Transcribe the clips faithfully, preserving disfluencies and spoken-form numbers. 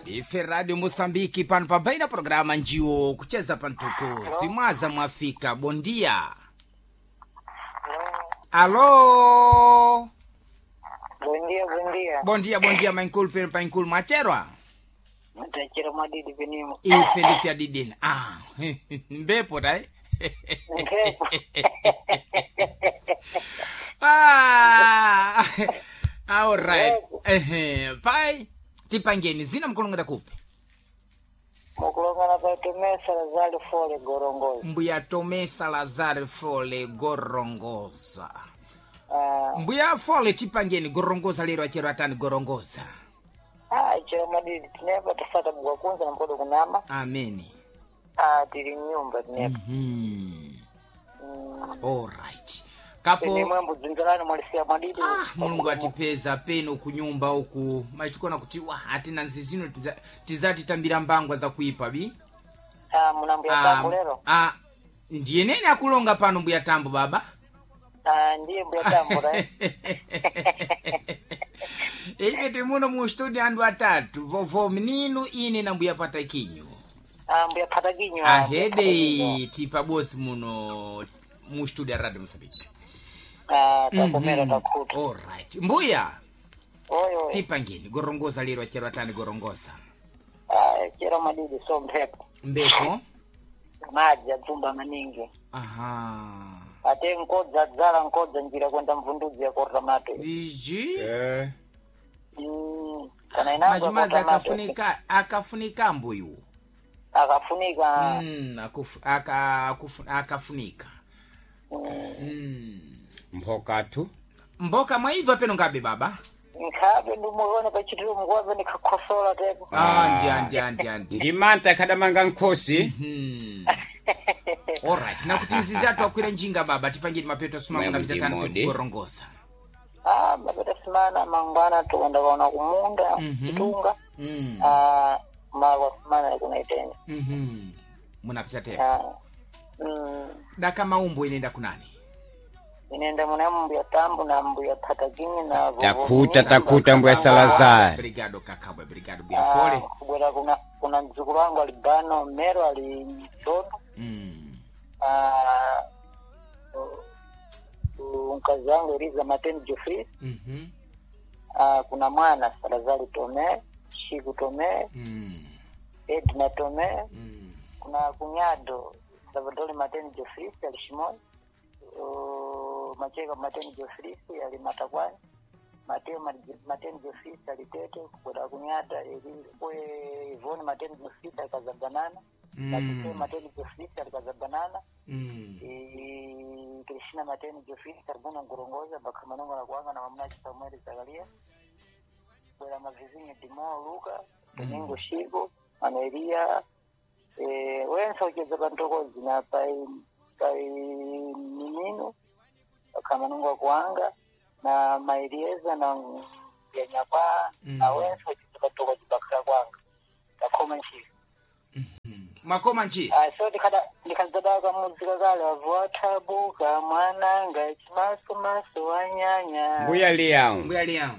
Ife Radio Mosambiki pano pabaina programa njiwo kucheza pantuku simwaza mwafika bondia. Alo. Bom dia, bom dia. Bondia bondia mainkulu peno painkulu mwacherwa. Mtachira mwadidi penimo. Ife ndifya didini. Ah, mbepo dai. Mpepo. Ah. All right. Ehe, pai tipangeni zina mkulongera kupi? Mukulongana pa Tomé Salazar Fole Gorongosa. Mbuya Tomé Salazar Fole Gorongosa. Ah, Mbuya Fole tipangeni Gorongosa lero achero atani Gorongosa. ah, chira mwadidi tinepa tafata bwa kunza na mkodo kunama. Ameni. Ah, tili nyumba tinepa. Mhm. Mm. All right. Kapo Pene mwambo dzinzalani mwalisia mwadidi. ah, mulungu atipeza peno kunyumba uku machikona kuti wa atina nzizino tiza- tizatitambira mbangwa za kuipa bi Ah, muna mbuya tambo lero. ah, ndiye nene akulonga pano mbuya tambo baba. Ah, ndiye mbuya tambo ra. Ife tili muno mu studio andu atatu vovo mninu ine na mbuya patakinyo. Ah, mbuya patakinyo. Ahede tipabosi muno mu studio ya Radio Mosambiki. Ah, takomera takuta. Alright. Mbuya Oyo oyo. tipangeni gorongosa lero achero atani gorongosa. Ah, chira mwadidi so mpepo. Mbepo. Madzi adzumba maningi. Aha. Ate nkodza dzala nkodza njira kwenda mvundudzi yakorta mato. Iji. Eh, Mm, kana inango Majimazi yakorta mato. akafunika akafunika mbuyu. Akafunika. Mm, akufu, aka, akufu, akafunika. Mm. mphokatu Mboka mwaibva peno ngabe baba. Nkhabe ndumuone pachitiro mukuwape ndikakhosola tepo. Ah, ndi andi andi andi. ndi manta khadamanga nkhosi. Hmm. Alright, nakuti izizi atu akwira njinga baba tipangeni mapeto asuma Mwe muna vitatano mudimodi. tikugorongosa. Ah, mapeta simana mangwana tukwenda kaona kumunda Mhm. kutunga. Mm. Ah, makwa simana kunaitenda. Mhm. Munapita tepo. Ah. Mm, Daka maumbo inenda kunani? inenda muna mbuya tambu na mbuya patakinyi na vovo Takuta mnini, takuta mbuya Salazar. Brigado kakabwe brigado buya Ah, fole. kubwera kuna kuna mdzukulu wangu ali bano mero ali mtoto. Mm. Ah, uh, mkazi wangu Eliza Mateni Geoffrey. Mhm. Ah, kuna mwana Salazari Tome, Shiku Tome, Mm. Edna Tome, Mm. kuna kunyado Salvador Mateni Geoffrey ali Shimoni, uh, Macheka Mateni Geoffrey ali Matakwani, Mateo Ma- Mateni Geoffrey ali Tete, kuna kunyada Eli- kwe Ivone Mateni Geoffrey ali Kazabanana, Mm. Mateo Mateni Geoffrey ali Kazabanana, Mm. Eh, Krishna Mateni Geoffrey Sarguna Ngurongoza Bakamanongo na kuanga na mamnaji Samuel Zakaria Bwera Mavizinho Dimo Luka Domingo Shigo Manuelia eh, wense ucheza pantokozi na pai pai Minino Bakamanongo kuanga na Mailieza na Yanyakwa Mm. na wense ucheza pantokozi bakra kwanga takoma nchii. Makoma nchi. Ah, so ndikada ndikadzadaka muzika kale avuathabuka mwananga chimasomaso wanyanya. Mbuya liyawo Mbuya liyawo.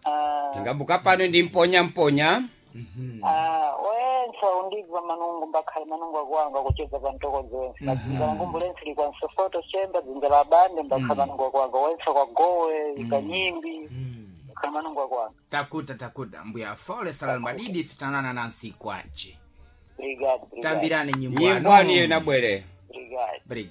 Ah, tingabuka pano ndi mponya mponya. Mhm. ah, wense undibva manungu mbakhale manungu akuwanga kucheza pa mtokozi wense na dzinza la ngumbu lense likwa msofoto chemba dzinza la bande mbakhale manungu akuwanga wense kwa gowe ikanyimbi Mm. mbakhale manungu akuwanga. Takuta takuta mbuya fole salal madidi fitanana nansi kwache. Brigade, brigade. Tambirane nyimbo Nyimbwani iyo inabwere.